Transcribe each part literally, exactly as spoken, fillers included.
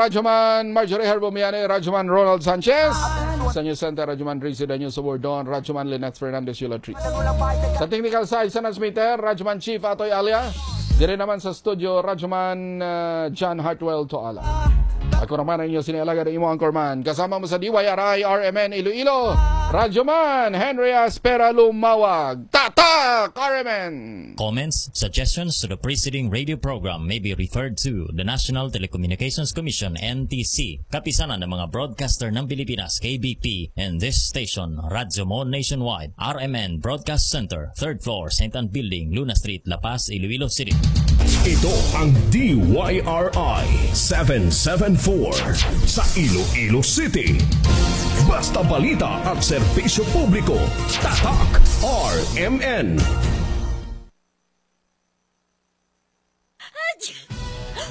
Radyoman Marjorie Herbo Miane, Radyoman Ronald Sanchez. Sa News Center, Radyoman Rizzy Daniel Subordon, Radyoman Lynette Fernandez Yulatris. Sa technical side, sa transmitter, Radyoman Chief Atoy Alia. Diri naman sa studio, Radyoman, uh, John Hartwell Toala. Ako naman ang inyo sinialaga na imo anchorman. Kasama mo sa D Y R I R M N Iloilo, Radyoman Henry Aspera Lumawag. Tatak, R M N! Comments, suggestions to the preceding radio program may be referred to the National Telecommunications Commission, N T C, Kapisanan ng mga Broadcaster ng Pilipinas, K B P, and this station, Radyo Mo Nationwide, R M N Broadcast Center, third floor, Saint Ann Building, Luna Street, La Paz, Iloilo City. Ito ang D Y R I seven seven four sa Iloilo City. Basta balita at serbisyo publiko, Tatak R M N.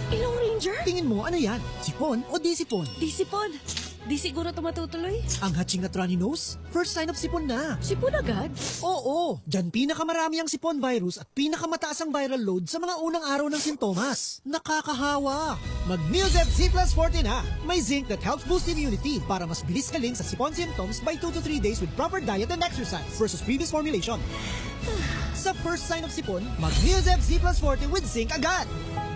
Ilong Ranger? Tingin mo, ano yan? Sipon o di sipon? Di sipon. Di siguro to matutuloy. Ang hatching at runny nose? First sign of sipon na. Sipon agad? Oo! Diyan pinakamarami ang sipon virus at pinakamataas ang viral load sa mga unang araw ng sintomas. Nakakahawa! Mag Neozep Z plus forty na! May zinc that helps boost immunity para mas bilis galing sa sipon symptoms by two to three days with proper diet and exercise versus previous formulation. Sa first sign of sipon, mag Neozep Z plus forty with zinc agad!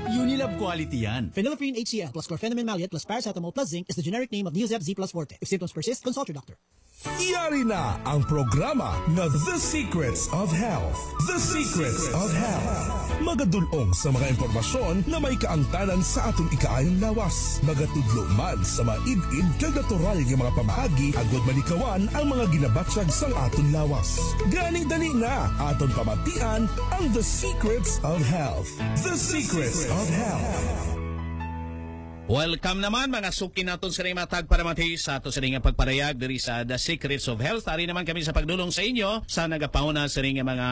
Unilab quality yan. Phenylephrine H C L plus chlorphenamine maleate plus paracetamol plus zinc is the generic name of Neozep Z plus forty. If symptoms persist, consult your doctor. Yari na ang programa nga The Secrets of Health. The Secrets of Health. Magadulong sa mga impormasyon na may kaangtanan sa aton ikaayong lawas. Magatudlo man sa maid-id kag natural nga mga pamaagi agod malikawan ang mga ginabatyag sang aton lawas. Gani dali na, aton pamatian ang The Secrets of Health. The Secrets of Health. Welcome naman, mga suki naton sa mga tagparamati sa ato sa nga pagparayag diri sa The Secrets of Health. Ari naman kami sa pagdulong sa inyo sa nagapauna sa nga mga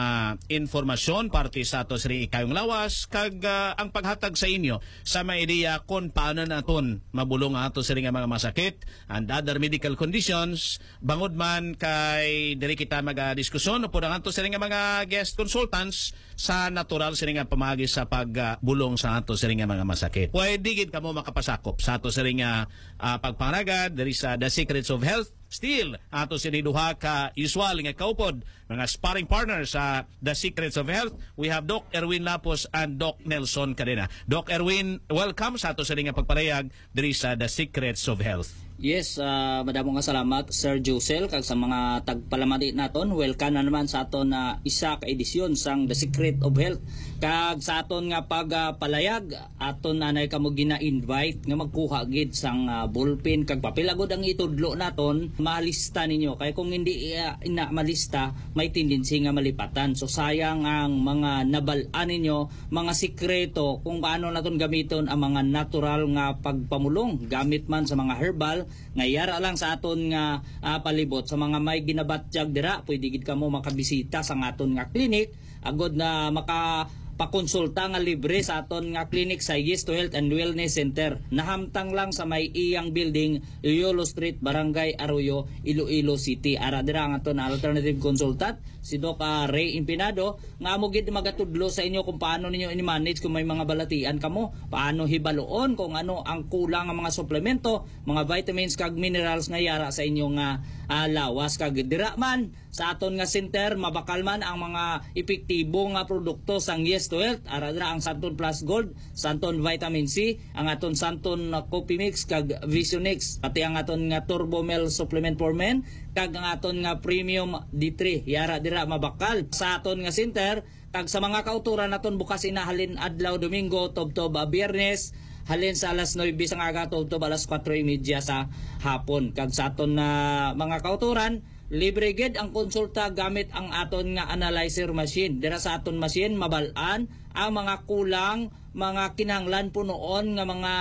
informasyon parte sa ato sa ikayong lawas kag, ah, ang paghatag sa inyo sa mga ideya kung paano naton mabulong ang ato sa nga mga masakit and other medical conditions, bangod man kay diri kita magadiskusyon upod ang ato sa nga mga guest consultants sa natural sini nga pamaagi sa pagbulong sa ato sini nga mga masakit. Pwede gid kamo makapasakop sa ato sini nga, ah, pagpangaragad diri sa The Secrets of Health. Still, ato sini duha ka usual nga kaupod, mga sparring partner sa The Secrets of Health. We have Doc Erwin Lapos and Doc Nelson Cadena. Doc Erwin, welcome sa ato sini nga pagparayag diri sa The Secrets of Health. Yes, ah, madamo nga salamat, Sir Josel, kag sa mga tagpalamati naton. Welcome na naman sa aton na isa ka edisyon sang The Secret of Health. Kag sa aton nga pagpalayag, aton anay kamo gina-invite nga magkuha gid sang, ah, ballpen kag papel agod ang itudlo naton, malista ninyo. Kay kung hindi, ah, ina malista, may tendency nga malipatan. So sayang ang mga nabal-an ninyo, mga sikreto kung paano naton gamiton ang mga natural nga pagpamulong, gamit man sa mga herbal nga yara lang sa aton nga, ah, palibot, sa mga may ginabatyag dira, pwede gid kamo makabisita sa aton nga clinic agod na makapakonsulta nga libre sa aton nga clinic sa Yes to Health and Wellness Center. Nahamtang lang sa may iyang building, Yolo Street, Barangay Arroyo, Iloilo City. Ara dira ang aton alternative consultant, si Doc, ah, Ray Impinado, nga amo gid magatudlo sa inyo kung paano ninyo i-manage kung may mga balatian kamo, paano hibaluon kung ano ang kulang nga mga suplemento, mga vitamins kag minerals nga yara sa inyo nga, ah, lawas. Kag dira man sa aton nga center, mabakal man ang mga epektibo nga produkto sang Yes to Health. Ara dira ang Santon Plus Gold, Santon Vitamin C, ang aton Santon, uh, Coffee Mix kag Visionix, pati ang aton nga Turbo Mel Supplement for Men, kag ang aton nga Premium D three. Yara dira mabakal sa aton nga center, kag sa mga kautoran naton bukas ina halin adlaw Domingo tubtob, ah, Biyernes, halin sa alas nuebe sang aga tubtob alas kuwatro y media sa hapon. Kag sa aton na mga kautoran, libre gid ang konsulta gamit ang aton nga analyzer machine. Dira sa aton machine, mabal-an ang mga kulang, mga kinahanglan punoon nga mga,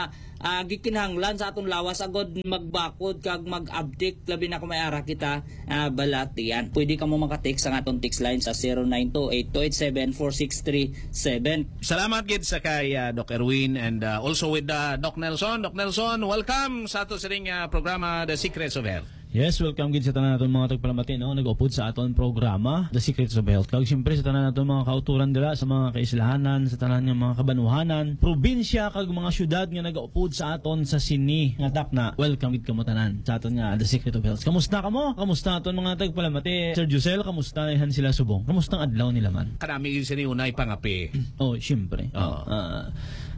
ah, gikinahanglan sa aton lawas agod magbakod kag mag-abtik, labi na kung may ara kita, ah, balatian. Pwede kamo maka-text sa aton text line sa zero nine two eight two eight seven four six three seven. Salamat gid sa kay, ah, Doc Erwin and, ah, also with, ah, Doc Nelson. Doc Nelson, welcome sa ato sining, ah, programa, The Secrets of Health. Yes, welcome gid sa tanan naton mga tagpalamati, no, nag-upod sa aton programa, The Secrets of Health. Kag siyempre sa tanan naton mga kauturan dira sa mga kaislahanan, sa tanan nga mga kabanuhanan, probinsya kag mga syudad nga nag-upod sa aton sa sini nga takna. Welcome gid kamo tanan sa aton nga The Secret of Health. Kamusta kamo? Kamusta aton mga tagpalamati? Sir Josel, kamusta na han sila subong? Kamusta ang adlaw nila man? Kanami gid sini unay pangape. Oh, siyempre. Oo. Ah,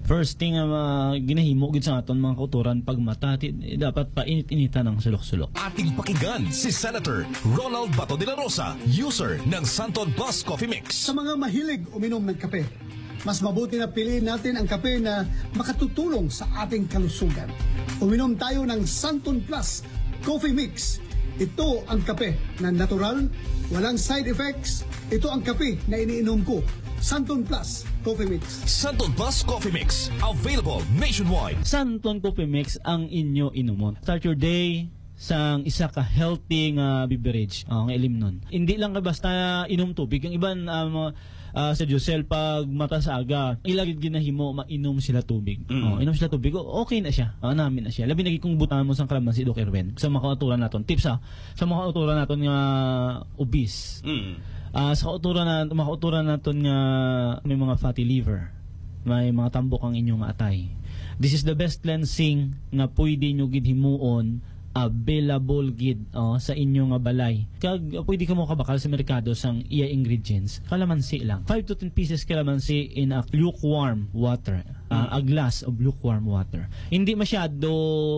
first thing nga ma-, ginahimo gid sa aton mga kauturan pag mata, ti-, dapat painit-initan ang sulok-sulok. Ating pakinggan si Senator Ronald Bato de la Rosa, user ng Santon Plus Coffee Mix. Sa mga mahilig uminom ng kape, mas mabuti na piliin natin ang kape na makatutulong sa ating kalusugan. Uminom tayo ng Santon Plus Coffee Mix. Ito ang kape na natural, walang side effects. Ito ang kape na iniinom ko. Santon Plus Coffee Mix. Santon Plus Coffee Mix, available nationwide. Santon Coffee Mix ang inyo inumon. Start your day sang isa ka healthy nga beverage, oh, nga ilimnon. Hindi lang ka basta inom tubig. Ang iban, um, ah, sa Josel, pag mata sa aga, ila gid ginahimo, mainom sila tubig. Mm. Oh, inom sila tubig, o-, okay na siya. Ah, nami na siya. Labi na gid kung butangan mo sang kalamansi, Doc Erwin. Sa mga kauturan naton, tips, ah, sa mga kauturan naton nga obese. Mm. Ah, sa kauturan na, mga kauturan naton nga may mga fatty liver, may mga tambok ang inyong atay. This is the best cleansing nga pwede nyo gid himuon, available gid, oh, sa inyo nga balay. Kag pwede kamo kabakal sa merkado sang iya ingredients. Kalamansi lang. Five to ten pieces kalamansi in a lukewarm water. Ah, Mm. a glass of lukewarm water. Hindi masyado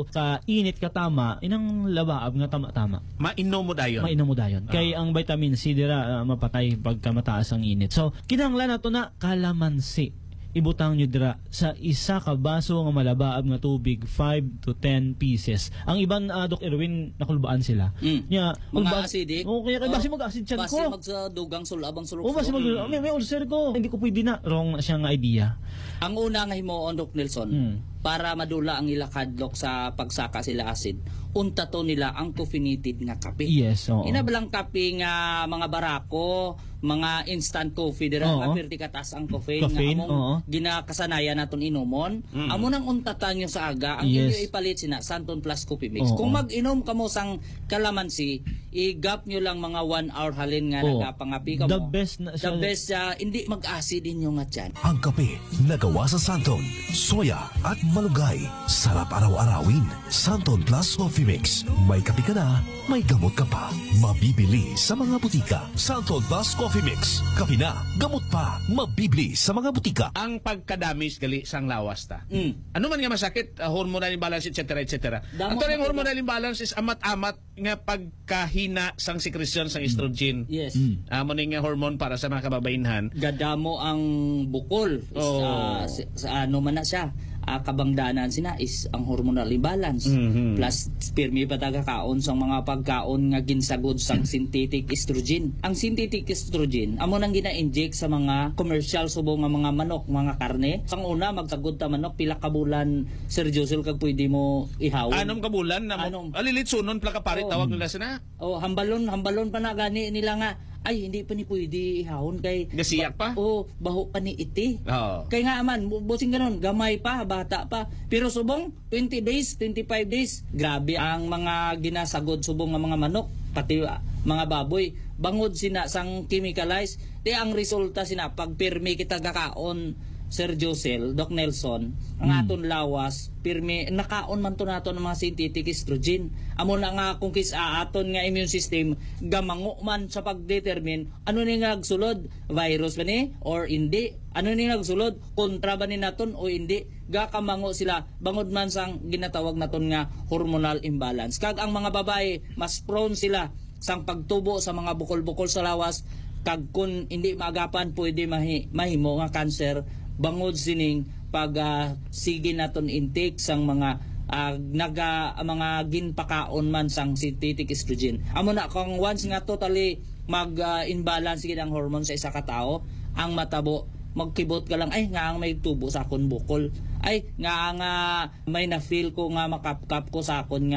ka init, katama, inang labaab nga tama-tama. Mainom mo dayon. Mainom mo dayon. Ah. Kay ang vitamin C dira, ah, mapatay pagka mataas ang init. So, kinahanglan nato na kalamansi. Ibutang nyo dira sa isa ka baso nga malabaab nga tubig, five to ten pieces. Ang iban, ah, Doc Erwin, nakulbaan sila. Mm. Nya, Mga magba-, acidic. Oo, kaya kay basi Oh, mag-acid siyan basi ko. Mag sa dugang sulab ang sulok-sulok. Oh, basi mag-, Mm. may, may ulcer ko. Hindi ko pwede na. Wrong na siya nga idea. Ang una nga himuon, Doc Nelson, Mm. para madula ang ila kadlok sa pagsaka sila acid, untato nila ang caffeinated nga kape. Yes, oo. Ina ba lang kape nga mga barako, mga instant coffee dira, Oo. nga pirti kataas ang caffeine, Caffeine, nga among oo. ginakasanayan naton inumon. Mm. Amo nang untatan nyo sa aga, ang Yes. inyo ipalit sina Santon Plus Coffee Mix. Oo. Kung mag-inom kamo sang kalamansi, i-gap nyo lang mga one hour halin nga Oo. nagapangapi kamo. The best na The siya. best siya, hindi mag-acid inyo nga tiyan. Ang kape na gawa sa santon, soya, at malunggay. Sarap araw-arawin. Santon Plus Coffee Mix. May kape ka na, may gamot ka pa. Mabibili sa mga butika. Santon Plus Coffee Mix. Kape na, gamot pa. Mabibili sa mga butika. Ang pagkadamis gali sang lawas ta. Mm. Ano man nga masakit, ah, hormonal imbalance, et cetera, et cetera. Damo Actually, ang na hormonal imbalance is amat-amat nga pagkahina sang secretion sang Mm. estrogen. Yes. Mm. Amo ni nga hormone para sa mga kababainhan. Gadamo ang bukol. Is, Oh. ah, sa, sa ano man na siya, ah, kabangdanan sina is ang hormonal imbalance. Mhm. Plus, pirmi pa ta gakaon sang mga pagkaon nga ginsagod sang synthetic estrogen. Ang synthetic estrogen, amo nang gina-inject sa mga commercial subong nga mga manok, mga karne. Sang una, magsagod ta manok, pila ka bulan, Sir Josel, kag pwede mo ihawon? Anom ka bulan na mo, Anom. ah, lilitsunon pala ka pare, Oo. tawag nila sina. Oh, hambalon, hambalon pa na gani nila nga, "Ay, hindi pa ni pwede ihawon kay Gasiyak ba-, pa? oh, baho pa ni iti." Oo. Kay nga man, bu-, busing ganon, gamay pa, bata pa. Pero subong, twenty days, twenty-five days, grabe ang mga ginasagod subong nga mga manok, pati, ah, mga baboy. Bangod sina sang chemicalize, ti ang resulta sina pag pirmi kita gakaon, Sir Josel, Doc Nelson, ang Hmm. aton lawas, pirmi, nakaon man to nato ng mga synthetic estrogen. Amo na nga kung kis-, ah, aton nga immune system, gamango man sa pag-determine, ano ni nga nagsulod, virus ba ni or hindi? Ano ni nga nagsulod, kontra ba ni naton o hindi? Gakamango sila, bangod man sang ginatawag naton nga hormonal imbalance. Kag ang mga babae, mas prone sila sang pagtubo sa mga bukol-bukol sa lawas, kag kun hindi maagapan, pwede mahi-, mahimo nga cancer bangod sining pag, ah, sige naton intake sang mga, ah, naga-, mga ginpakaon man sang synthetic estrogen. Amo na, kung once nga totally mag, ah, imbalance gid ang hormone sa isa ka tawo, ang matabo, magkibot ka lang, "Ay, nga ang may tubo sa akon bukol. Ay, nga ang, ah, may na-feel ko nga makapkap ko sa akon nga